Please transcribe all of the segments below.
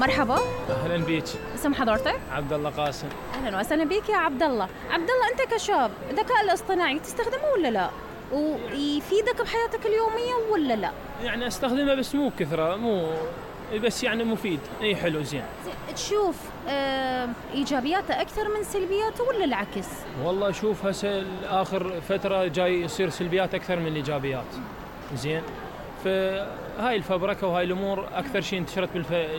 مرحبا. اهلا بيك. اسم حضرتك؟ عبد الله قاسم. اهلا وسهلا بك يا عبد الله. عبد الله، انت كشاب الذكاء الاصطناعي تستخدمه ولا لا؟ ويفيدك بحياتك اليوميه ولا لا؟ يعني استخدمه بس مو كثره، مو بس يعني مفيد، اي حلو زين. تشوف ايجابياته اكثر من سلبياته ولا العكس؟ والله شوف هسه اخر فتره جاي يصير سلبيات اكثر من الايجابيات. زين. فهاي الفبركه وهاي الامور اكثر شيء انتشرت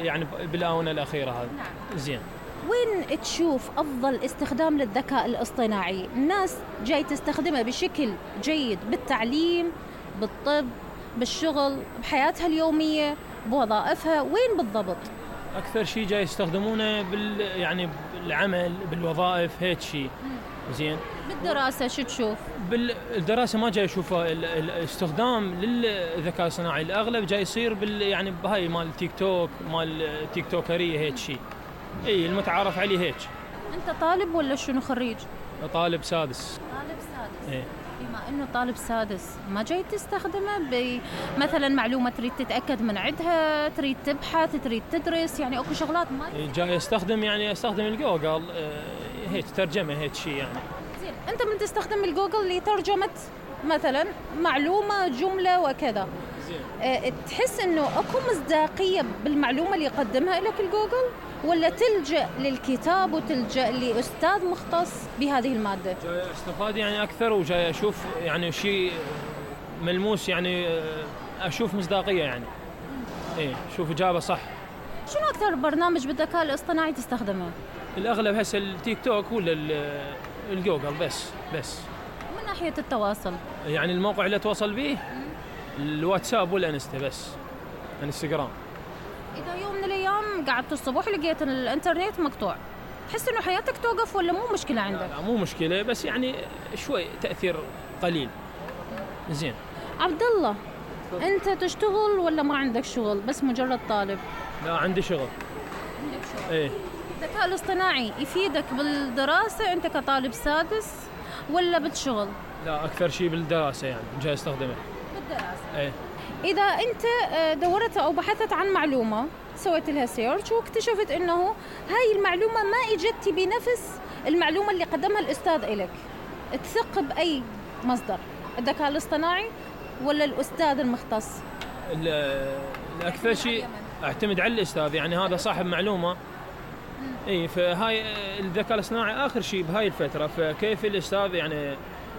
يعني بالاونه الاخيره هذه. نعم. زين. وين تشوف افضل استخدام للذكاء الاصطناعي؟ الناس جاي تستخدمه بشكل جيد بالتعليم، بالطب، بالشغل، بحياتها اليوميه، بوظائفها، وين بالضبط؟ اكثر شيء جاي يستخدمونه يعني بالعمل، بالوظائف، هيك شيء. زين. بالدراسه شو تشوف؟ بالدراسه ما جاي اشوفه الاستخدام للذكاء الصناعي، الاغلب جاي يصير يعني بهاي مال تيك توك، مال تيك توكريه، هيك شيء. اي المتعارف عليه هيك. انت طالب ولا شنو، خريج؟ طالب سادس. طالب سادس. ايه. بما انه طالب سادس، ما جاي تستخدمه مثلا معلومه تريد تتاكد من عندها، تريد تبحث، تريد تدرس، يعني اكو شغلات ما جاي استخدم الجوجل، هيك ترجمه، هيك شيء يعني. زين، انت من تستخدم الجوجل لترجمه مثلا معلومه، جمله وكذا. زين. تحس انه اكو مصداقيه بالمعلومه اللي يقدمها لك الجوجل، ولا تلجأ للكتاب وتلجأ لأستاذ مختص بهذه المادة؟ جاي استفاد يعني أكثر، وجاي أشوف يعني شيء ملموس، يعني أشوف مصداقية يعني. إيه، شوف إجابة صح. شنو أكثر برنامج بالذكاء الاصطناعي تستخدمه؟ الأغلب هسه التيك توك ولا الجوجل بس. من ناحية التواصل؟ يعني الموقع اللي أتواصل به الواتساب والإنستا بس، انستغرام. إذا يوم من الأيام قعدت الصبح ولقيت الإنترنت مقطوع، تحس إنه حياتك توقف ولا مو مشكلة عندك؟ لا مو مشكلة، بس يعني شوي تأثير قليل. زين. عبد الله، أنت تشتغل ولا ما عندك شغل، بس مجرد طالب؟ لا عندي شغل. عندك شغل؟ إيه. الذكاء الاصطناعي يفيدك بالدراسة أنت كطالب سادس ولا بالشغل؟ لا أكثر شيء بالدراسة، يعني جاي استخدمه بالدراسة. إيه. إذا أنت دورت أو بحثت عن معلومة، سويت لها سيرش واكتشفت إنه هاي المعلومة ما إجتي بنفس المعلومة اللي قدمها الأستاذ إلك، تثق بأي مصدر؟ الذكاء الاصطناعي ولا الأستاذ المختص؟ الأكثر شيء أعتمد على الأستاذ، يعني هذا صاحب معلومة. إيه، فهاي الذكاء الاصطناعي آخر شيء بهاي الفترة، فكيف الأستاذ يعني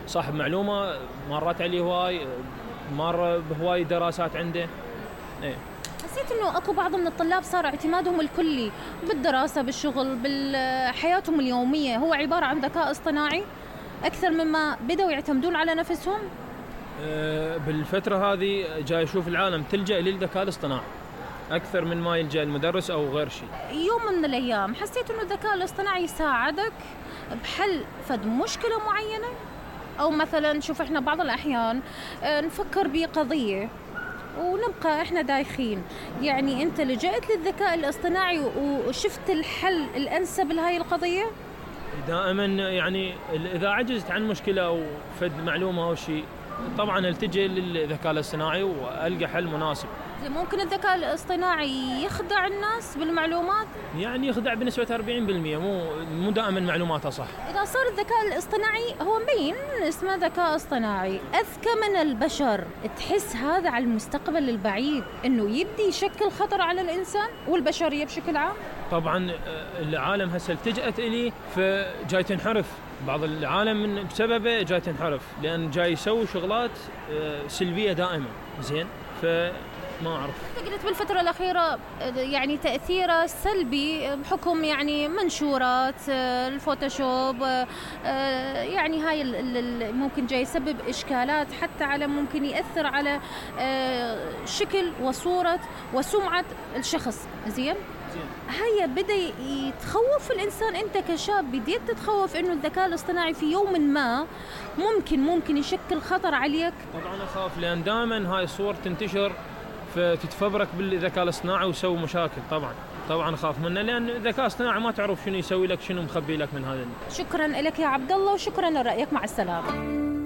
صاحب معلومة مرت عليه هواي، مر بهواي دراسات عنده. إيه. حسيت إنه أكو بعض من الطلاب صار اعتمادهم الكلي بالدراسة، بالشغل، بحياتهم اليومية هو عبارة عن ذكاء اصطناعي أكثر مما بدأوا يعتمدون على نفسهم؟ بالفترة هذه جاي أشوف العالم تلجأ للذكاء الاصطناعي أكثر من ما يلجأ المدرس أو غير شيء. يوم من الأيام حسيت إنه الذكاء الاصطناعي يساعدك بحل فد مشكلة معينة؟ أو مثلا شوف إحنا بعض الأحيان نفكر بقضية ونبقى إحنا دايخين، يعني أنت لجأت للذكاء الاصطناعي وشفت الحل الأنسب لهاي القضية؟ دائما يعني إذا عجزت عن مشكلة أو فد معلومة أو شيء، طبعا التجي للذكاء الاصطناعي وألقى حل مناسب. ممكن الذكاء الاصطناعي يخدع الناس بالمعلومات؟ يعني يخدع بنسبة 40%، مو دائما معلوماتها صح. إذا صار الذكاء الاصطناعي هو مبين اسمه ذكاء اصطناعي أذكى من البشر، تحس هذا على المستقبل البعيد إنه يبدي يشكل خطر على الإنسان والبشرية بشكل عام؟ طبعا العالم هسه التجأت إليه، فجاي تنحرف بعض العالم بسببه، جاي تنحرف لأن جاي يسوي شغلات سلبية دائما. زين. ما أعرف. أنت قلت بالفترة الأخيرة يعني تأثيره سلبي بحكم يعني منشورات الفوتوشوب، يعني هاي ممكن جاي يسبب إشكالات، حتى على ممكن يأثر على شكل وصورة وسمعة الشخص. زين. هيا بدأ يتخوف الإنسان، أنت كشاب بديت تتخوف إنه الذكاء الاصطناعي في يوم ما ممكن يشكل خطر عليك؟ طبعا أخاف، لأن دائما هاي الصور تنتشر فتتفبرك بالذكاء الاصطناعي ويسوي مشاكل. طبعا أخاف منه، لأن الذكاء الاصطناعي ما تعرف شنو يسوي لك، شنو مخبي لك من هذا. شكرا لك يا عبد الله، وشكرا لرأيك، مع السلامة.